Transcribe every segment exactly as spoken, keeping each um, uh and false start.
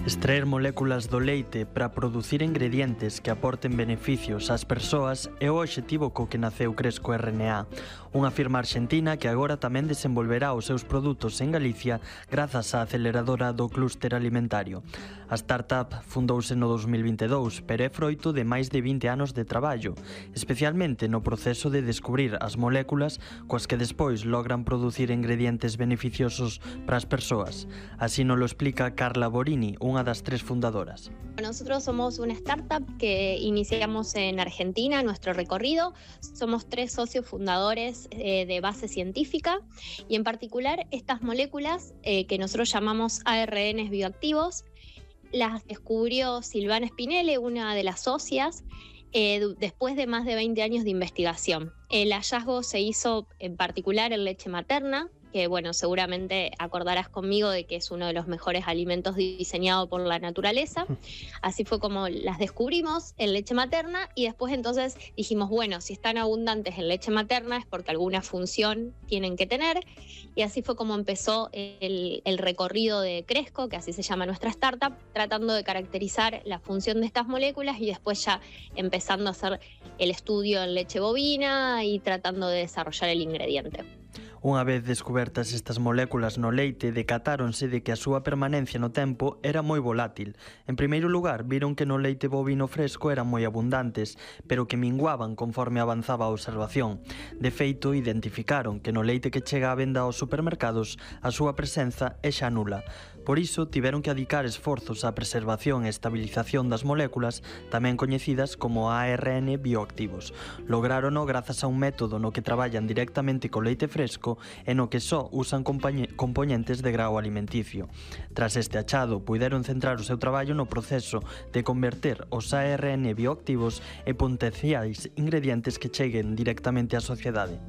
Extraer moléculas do leite para producir ingredientes que aporten beneficios ás persoas é o obxectivo co que naceu Cresco R N A, unha firma arxentina que agora tamén desenvolverá os seus produtos en Galicia grazas á aceleradora do clúster alimentario. A startup fundouse no dos mil vinte e dous, pero é froito de máis de vinte anos de traballo, especialmente no proceso de descubrir as moléculas coas que despois logran producir ingredientes beneficiosos para as persoas. Así nos lo explica Carla Borini, unha das tres fundadoras. Nosotros somos una startup que iniciamos en Argentina nuestro recorrido. Somos tres socios fundadores eh, de base científica y en particular estas moléculas eh, que nosotros llamamos A R Ns bioactivos las descubrió Silvana Spinelli, una de las socias, eh, después de más de veinte años de investigación. El hallazgo se hizo en particular en leche materna, que bueno, seguramente acordarás conmigo de que es uno de los mejores alimentos diseñado por la naturaleza. Así fue como las descubrimos en leche materna y después entonces dijimos, bueno, si están abundantes en leche materna es porque alguna función tienen que tener, y así fue como empezó el, el recorrido de Cresco, que así se llama nuestra startup, tratando de caracterizar la función de estas moléculas y después ya empezando a hacer el estudio en leche bovina y tratando de desarrollar el ingrediente. Unha vez descubertas estas moléculas no leite, decatáronse de que a súa permanencia no tempo era moi volátil. En primeiro lugar, viron que no leite bovino fresco eran moi abundantes, pero que minguaban conforme avanzaba a observación. De feito, identificaron que no leite que chega á venda aos supermercados a súa presenza é xa nula. Por iso, tiveron que adicar esforzos á preservación e estabilización das moléculas, tamén coñecidas como A R N bioactivos. Lograrono grazas a un método no que traballan directamente co leite fresco e no que só usan componentes de grao alimenticio. Tras este achado, puideron centrar o seu traballo no proceso de converter os A R N bioactivos en potenciais ingredientes que cheguen directamente á sociedade.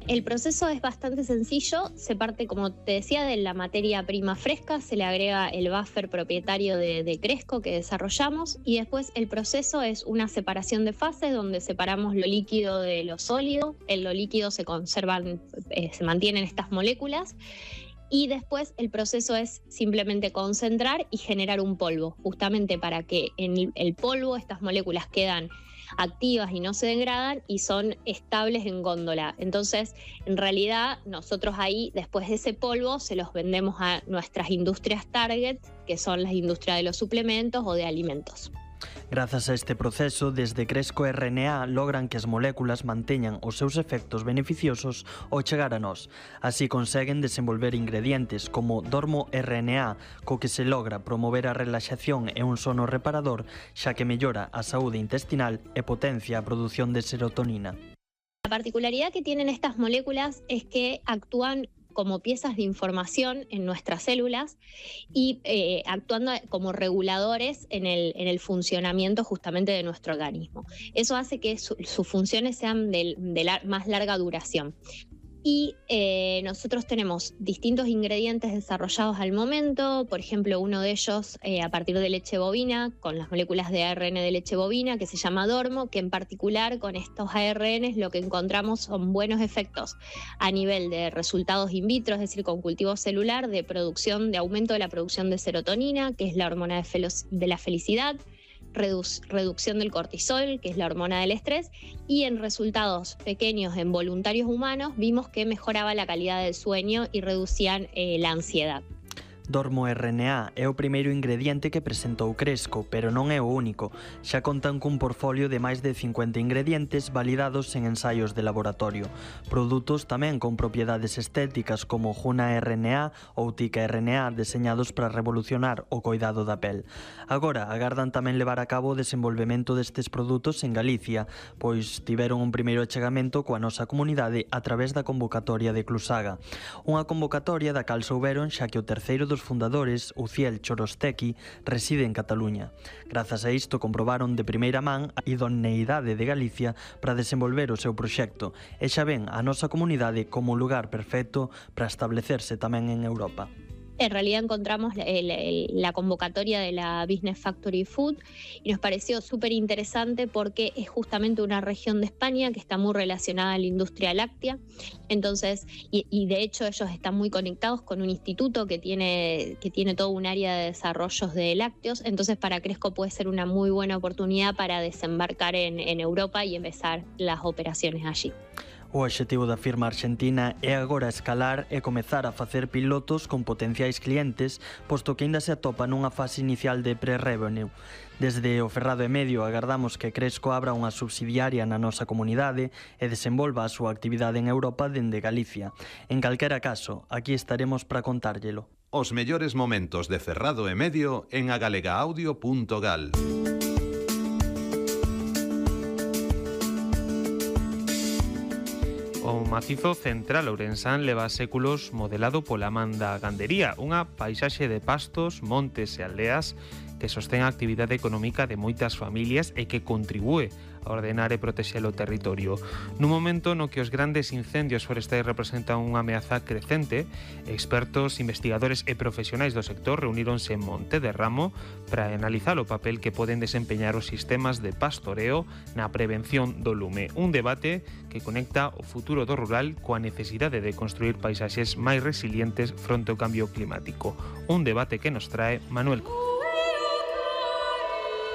El proceso es bastante sencillo, se parte, como te decía, de la materia prima fresca, se le agrega el buffer propietario de, de Cresco que desarrollamos y después el proceso es una separación de fases donde separamos lo líquido de lo sólido. En lo líquido se conservan, eh, se mantienen estas moléculas y después el proceso es simplemente concentrar y generar un polvo, justamente para que en el polvo estas moléculas quedan activas y no se degradan y son estables en góndola. Entonces, en realidad, nosotros ahí, después de ese polvo, se los vendemos a nuestras industrias target, que son las industrias de los suplementos o de alimentos. Grazas a este proceso, desde Cresco R N A logran que as moléculas manteñan os seus efectos beneficiosos ao chegar a nós. Así conseguen desenvolver ingredientes como Dormo R N A, co que se logra promover a relaxación e un sono reparador, xa que mellora a saúde intestinal e potencia a produción de serotonina. La particularidad que tienen estas moléculas es que actúan como piezas de información en nuestras células y eh, actuando como reguladores en el, en el funcionamiento justamente de nuestro organismo. Eso hace que su, sus funciones sean de, de la, más larga duración. Y eh, nosotros tenemos distintos ingredientes desarrollados al momento, por ejemplo, uno de ellos eh, a partir de leche bovina, con las moléculas de A R N de leche bovina, que se llama Dormo, que en particular con estos A R Ns lo que encontramos son buenos efectos a nivel de resultados in vitro, es decir, con cultivo celular, de producción, de aumento de la producción de serotonina, que es la hormona de, de la felicidad, Redu reducción del cortisol, que es la hormona del estrés, y en resultados pequeños en voluntarios humanos vimos que mejoraba la calidad del sueño y reducían eh, la ansiedad. Dormo R N A é o primeiro ingrediente que presentou Cresco, pero non é o único. Xa contan cun portfolio de máis de cincuenta ingredientes validados en ensaios de laboratorio. Produtos tamén con propiedades estéticas como Juna R N A ou Tika R N A deseñados para revolucionar o coidado da pel. Agora, agardan tamén levar a cabo o desenvolvemento destes produtos en Galicia, pois tiveron un primeiro achegamento coa nosa comunidade a través da convocatoria de Clusaga. Unha convocatoria da cal souberon xa que o terceiro dos fundadores, Uciel Chorostequi, reside en Cataluña. Grazas a isto comprobaron de primeira man a idoneidade de Galicia para desenvolver o seu proxecto e xa ven a nosa comunidade como un lugar perfecto para establecerse tamén en Europa. En realidad encontramos la, el, el, la convocatoria de la Business Factory Food y nos pareció súper interesante porque es justamente una región de España que está muy relacionada a la industria láctea. Entonces, y, y de hecho ellos están muy conectados con un instituto que tiene, que tiene todo un área de desarrollos de lácteos. Entonces para Cresco puede ser una muy buena oportunidad para desembarcar en, en Europa y empezar las operaciones allí. O obxectivo da firma argentina é agora escalar e comezar a facer pilotos con potenciais clientes, posto que ainda se atopa nunha fase inicial de pre-revenue. Desde o Ferrado e Medio agardamos que Cresco abra unha subsidiaria na nosa comunidade e desenvolva a súa actividade en Europa dende Galicia. En calquera caso, aquí estaremos para contárllelo. Os mellores momentos de Ferrado e Medio en agalegaudio punto gal. O macizo central ourensán leva séculos modelado pola man da gandería, unha paisaxe de pastos, montes e aldeas que sostén a actividade económica de moitas familias e que contribúe a ordenar e protexer o territorio. Nun momento no que os grandes incendios forestais representan unha ameaza crecente, expertos, investigadores e profesionais do sector reuníronse en Monte de Ramo para analizar o papel que poden desempeñar os sistemas de pastoreo na prevención do lume. Un debate que conecta o futuro do rural coa necesidade de construir paisaxes máis resilientes fronte ao cambio climático. Un debate que nos trae Manuel.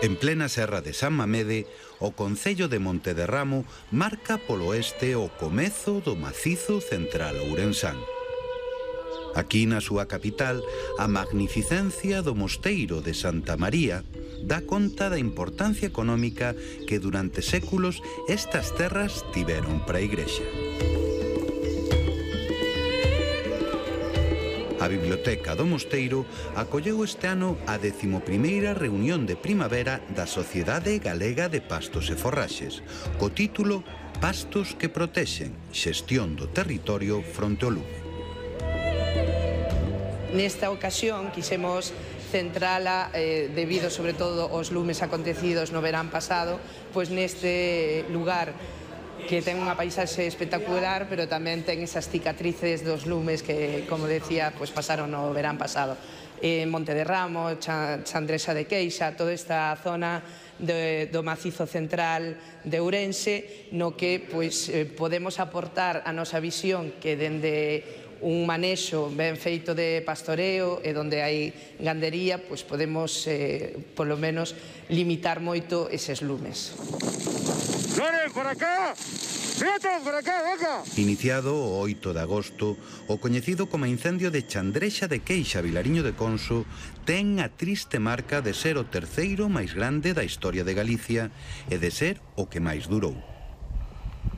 En plena serra de San Mamede, o concello de Monte de Ramo marca polo oeste o comezo do macizo central ourensán. Aquí na súa capital, a magnificencia do mosteiro de Santa María dá conta da importancia económica que durante séculos estas terras tiveron para a igrexa. A Biblioteca do Mosteiro acolleu este ano a décimo primeira reunión de primavera da Sociedade Galega de Pastos e Forraxes, co título Pastos que protexen, xestión do territorio fronte ao lume. Nesta ocasión quixemos centrala, eh, debido sobre todo aos lumes acontecidos no verán pasado, pois neste lugar que ten unha paisaxe espectacular, pero tamén ten esas cicatrices dos lumes que, como decía, pues pasaron no verán pasado. En Monte de Ramo, Chandresa de Queixa, toda esta zona de, do macizo central de Ourense, no que pues, eh, podemos aportar a nosa visión que dende un manexo ben feito de pastoreo e donde hai gandería, pues podemos, eh, polo menos, limitar moito eses lumes. ¡Loren, por acá! ¡Fíjate, por acá, venga! Iniciado o oito de agosto, o coñecido como incendio de Chandrexa de Queixa, Vilariño de Conso, ten a triste marca de ser o terceiro máis grande da historia de Galicia e de ser o que máis durou.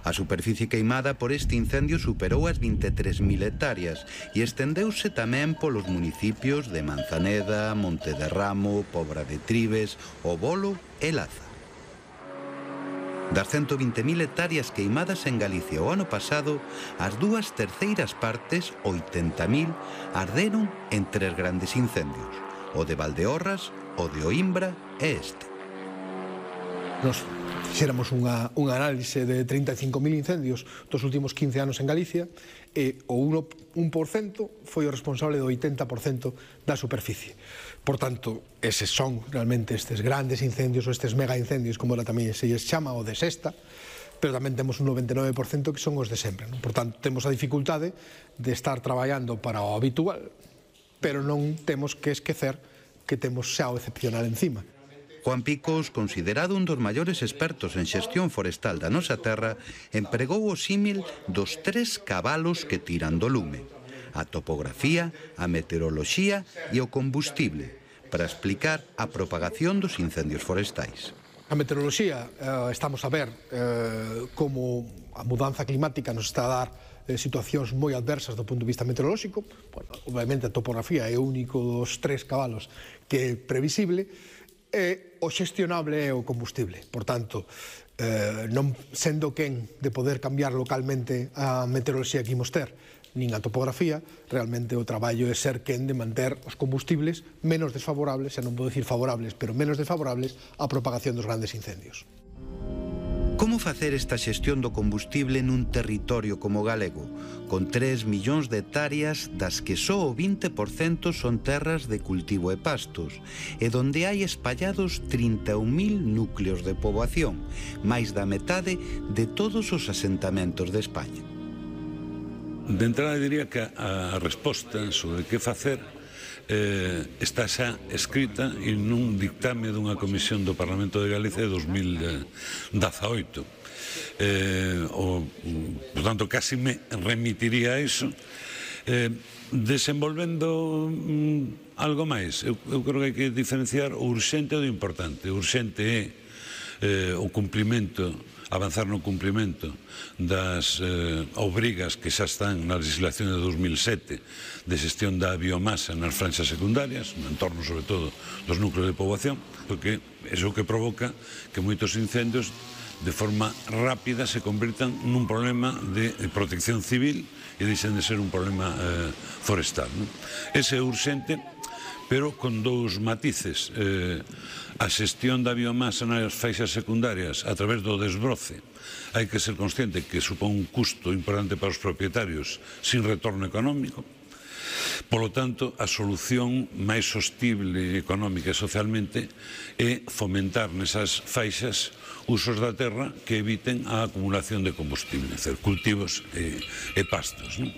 A superficie queimada por este incendio superou as vinte e tres mil hectáreas e estendeuse tamén polos municipios de Manzaneda, Monte de Ramo, Pobra de Tribes, O Bolo e Laza. Das ciento vinte mil hectáreas queimadas en Galicia o ano pasado, as dúas terceiras partes, oitenta mil, arderon en tres grandes incendios, o de Valdeorras, o de Oimbra e este. Nos fixéramos unha, unha análise de trinta e cinco mil incendios dos últimos quince anos en Galicia e o un por cento foi o responsable do oitenta por cento da superficie. Por tanto, eses son realmente estes grandes incendios ou estes mega incendios, como tamén se lles chama, o de sexta, pero tamén temos un noventa e nove por cento que son os de sempre. Non? Por tanto, temos a dificultade de estar traballando para o habitual, pero non temos que esquecer que temos xa o excepcional encima. Juan Picos, considerado un dos maiores expertos en xestión forestal da nosa terra, empregou o símil dos tres cabalos que tiran do lume: a topografía, a meteoroloxía e o combustible, para explicar a propagación dos incendios forestais. A meteoroloxía, eh, estamos a ver eh, como a mudanza climática nos está a dar eh, situacións moi adversas do punto de vista meteorolóxico. Bueno, obviamente a topografía é o único dos tres cabalos que é previsible, e o xestionable é o combustible. Por tanto, eh, non sendo quen de poder cambiar localmente a meteoroloxía que imos ter, nin a topografía, realmente o traballo é ser quen de manter os combustibles menos desfavorables, xa non vou dicir favorables, pero menos desfavorables á propagación dos grandes incendios. Como facer esta xestión do combustible nun territorio como o galego, con tres millóns de hectáreas das que só o vinte por cento son terras de cultivo e pastos, e donde hai espallados trinta e un mil núcleos de poboación, máis da metade de todos os asentamentos de España? De entrada diría que a resposta sobre que facer Eh, está xa escrita en un dictame dunha comisión do Parlamento de Galicia de dos mil dezaoito. Eh, o, por tanto, casi me remitiría a iso. Eh, desenvolvendo mm, algo máis, eu, eu creo que hai que diferenciar o urxente do importante. O urxente é eh, o cumprimento, avanzar no cumprimento das eh, obrigas que xa están na legislación de dos mil sete de xestión da biomasa nas franxas secundarias, no entorno sobre todo dos núcleos de poboación, porque é o que provoca que moitos incendios de forma rápida se convirtan nun problema de protección civil e deixen de ser un problema eh, forestal, non? Ese é urxente, pero con dous matices. Eh, a xestión da biomasa nas faixas secundarias a través do desbroce hai que ser consciente que supón un custo importante para os propietarios sin retorno económico. Por lo tanto, a solución máis sostible económica e socialmente é fomentar nesas faixas usos da terra que eviten a acumulación de combustible, é dizer, cultivos e, e pastos, non?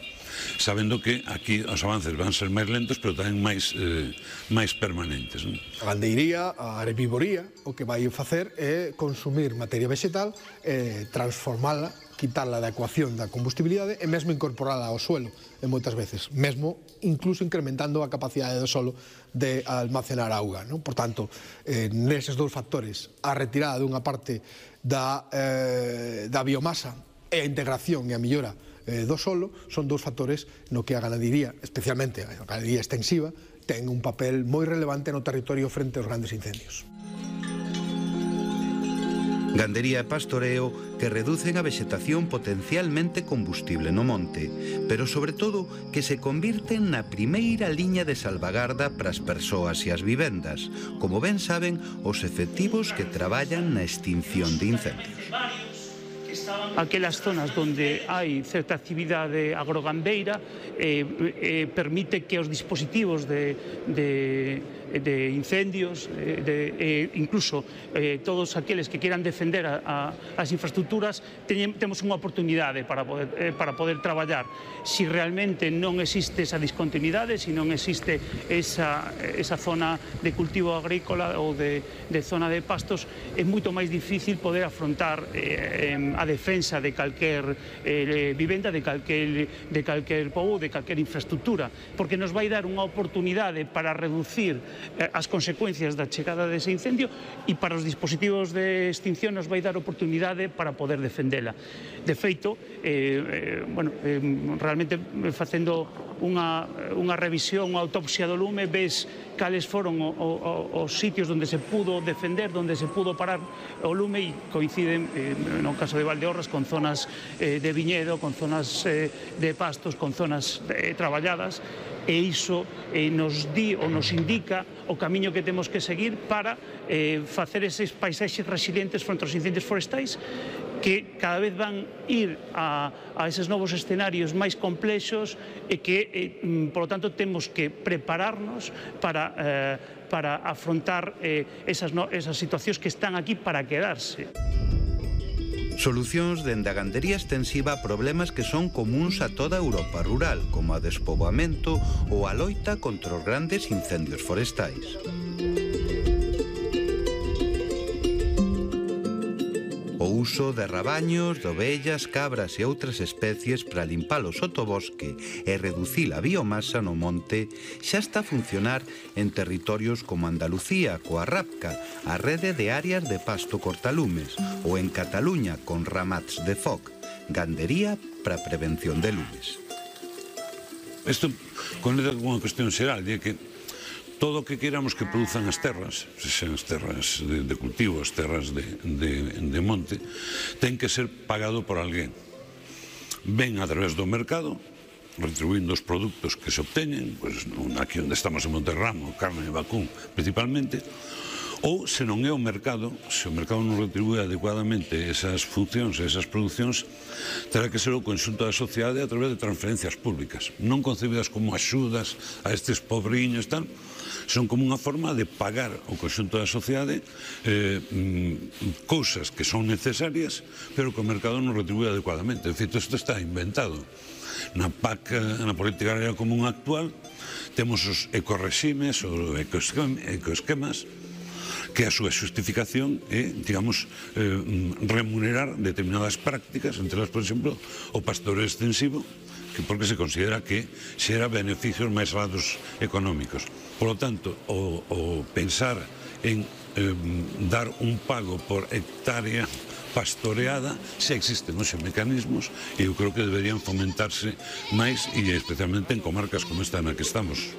Sabendo que aquí os avances van ser máis lentos, pero tamén máis, eh, máis permanentes, non? A gandeiría, a herbivoría, o que vai facer é consumir materia vegetal, eh, transformala, quitala da ecuación da combustibilidade e mesmo incorporala ao suelo, en moitas veces, mesmo incluso incrementando a capacidade do solo de almacenar auga, non? Por tanto, eh, neses dous factores, a retirada dunha parte da, eh, da biomasa e a integración e a millora eh, do solo son dous factores no que a ganadería, especialmente a ganadería extensiva, ten un papel moi relevante no territorio frente aos grandes incendios. Gandería e pastoreo que reducen a vexetación potencialmente combustible no monte, pero sobre todo que se convirten na primeira liña de salvagarda para as persoas e as vivendas, como ben saben os efectivos que traballan na extinción de incendios. Aquelas zonas onde hai certa actividade agrogandeira eh, eh, permite que os dispositivos de, de, de incendios, eh, de, eh, incluso eh, todos aqueles que quieran defender a, a, as infraestructuras, teñen, temos unha oportunidade para poder, eh, para poder traballar. Si realmente non existe esa discontinuidade, si non existe esa, esa zona de cultivo agrícola ou de, de zona de pastos, é moito máis difícil poder afrontar eh, a defensa de calquer eh, vivenda, de calquer, de calquer pobo, de calquer infraestructura, porque nos vai dar unha oportunidade para reducir eh, as consecuencias da chegada dese incendio e para os dispositivos de extinción nos vai dar oportunidade para poder defendela. De feito, eh, eh, bueno, eh, realmente facendo unha, unha revisión, unha autopsia do lume, ves cales foron o, o, os sitios onde se pudo defender, onde se pudo parar o lume, e coinciden, eh, no caso de Valdeorras, con zonas eh, de viñedo, con zonas eh, de pastos, con zonas eh, traballadas, e iso eh, nos di ou nos indica o camiño que temos que seguir para eh, facer eses paisaxes resilientes fronte aos incendios forestais, que cada vez van ir a, a eses novos escenarios máis complexos e que, eh, por lo tanto, temos que prepararnos para, eh, para afrontar eh, esas, no, esas situacións que están aquí para quedarse. Solucións dende a gandería extensiva a problemas que son comuns a toda a Europa rural, como a despoboamento ou a loita contra os grandes incendios forestais. O uso de rabaños, de ovellas, cabras e outras especies para limpar o sotobosque e reducir a biomasa no monte xa está a funcionar en territorios como Andalucía, coa RAPCA, a rede de áreas de pasto cortalumes, ou en Cataluña con Ramats de Foc, gandería para a prevención de lumes. Isto conecta con unha cuestión xeral, de que todo o que queramos que produzan as terras, sexan as terras de, de cultivo, as terras de, de, de monte, ten que ser pagado por alguén. Ben a través do mercado, retribuindo os produtos que se obteñen, pues, aquí onde estamos en Monterramo, carne e vacún principalmente, Ou, se non é o mercado, se o mercado non retribúe adecuadamente esas funcións, esas producións, terá que ser o conxunto da sociedade a través de transferencias públicas, non concebidas como axudas a estes pobriños, tal, son como unha forma de pagar o conxunto da sociedade eh, cousas que son necesarias, pero que o mercado non retribúe adecuadamente. De feito, isto está inventado. Na P A C, na política agraria común actual, temos os ecoreximes, os ecoesquemas, que a súa xustificación é, digamos, eh, remunerar determinadas prácticas, entre elas, por exemplo, o pastoreo extensivo, que porque se considera que xera beneficios máis alados económicos. Por lo tanto, o, o pensar en eh, dar un pago por hectárea pastoreada, se existen os mecanismos, e eu creo que deberían fomentarse máis, e especialmente en comarcas como esta na que estamos.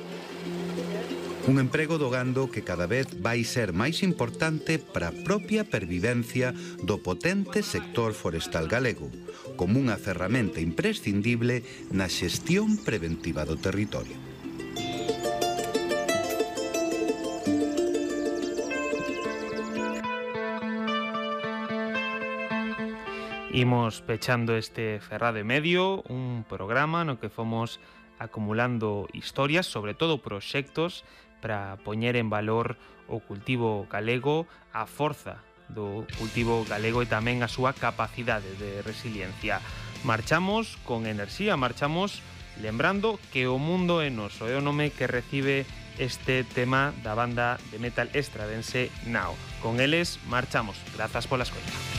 Un emprego do gando que cada vez vai ser máis importante para a propia pervivencia do potente sector forestal galego, como unha ferramenta imprescindible na xestión preventiva do territorio. Imos pechando este Ferrado e Medio, un programa no que fomos acumulando historias, sobre todo proxectos, para poñer en valor o cultivo galego, a forza do cultivo galego e tamén a súa capacidade de resiliencia. Marchamos con enerxía, marchamos lembrando que o mundo é noso, é o nome que recibe este tema da banda de metal estradense Nao. Con eles marchamos. Grazas pola escoita.